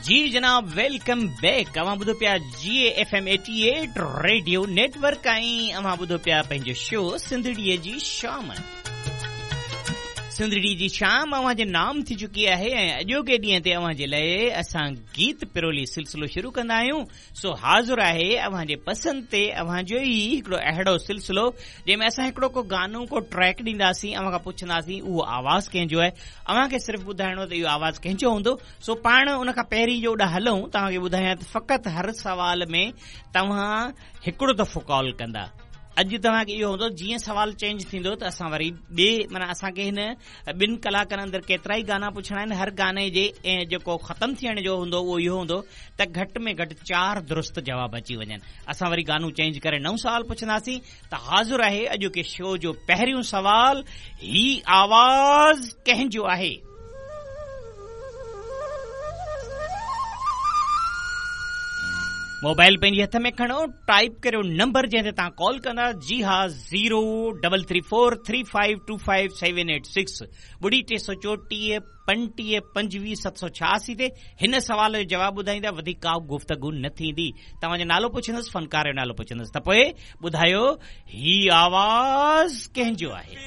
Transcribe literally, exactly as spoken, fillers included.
जी जनाब, welcome back. अवां ॿुधो पिया G F M eighty eight radio network ऐं अवां ॿुधो पिया पंहिंजो शो सिंधड़ीअ जी शाम। सिंधड़ी जी शाम अवां जे नाम थी चुकी आहे ऐं अॼोके ॾींहं ते अवां जे लाइ असां गीत पिरोली सिलसिलो शुरू कंदा आहियूं। सो हाज़िर आहे अवां जे पसंदि ते अवां जो ई हिकिड़ो अहिड़ो सिलसिलो जंहिंमें असां हिकिड़ो को गानो को ट्रैक ॾींदासीं, अवां खां पुछंदासीं उहो आवाज़ कंहिंजो आहे। अवां खे सिर्फ़ु ॿुधाइणो त इहो आवाज़ कंहिंजो हूंदो। सो पाण उन खां पहिरीं जो ओॾा हलूं, तव्हांखे ॿुधायां त फ़क़ति हर सवाल में तव्हां हिकिड़ो दफ़ो कॉल कंदा। अॼु तव्हांखे इहो हूंदो जीअं सवाल चेंज थींदो त असां वरी ॿिए माना असांखे हिन ॿिनि कलाकनि अंदरि केतिरा ई गाना पुछणा आहिनि। हर गाने जे ऐं जेको ख़तमु थियण जो हूंदो उहो इहो हूंदो त घटि में घटि चारि दुरुस्त जवाब अची वञनि। असां वरी गानो चेंज करे नओं सवाल पुछंदासीं। त हाज़िर आहे अॼोके शो जो पहिरियों सवाल, ही आवाज़ कंहिंजो आहे? मोबाइल पंहिंजे हथ में खणो, टाइप करियो नंबर जंहिं ते तव्हां कॉल कंदा। जी हा, zero double three four three five two five seven eight six ॿुड़ी टे सौ चोटीह पंटीह पंजवीह सत सौ छयासी ते हिन सवाल जो जवाबु ॿुधाईंदा। वधीक का गुफ़्तगू न थींदी। तव्हांजो नालो पुछंदुसि, फनकार जो नालो पुछंदुसि, त पोइ ॿुधायो ही आवाज़ कंहिंजो आहे।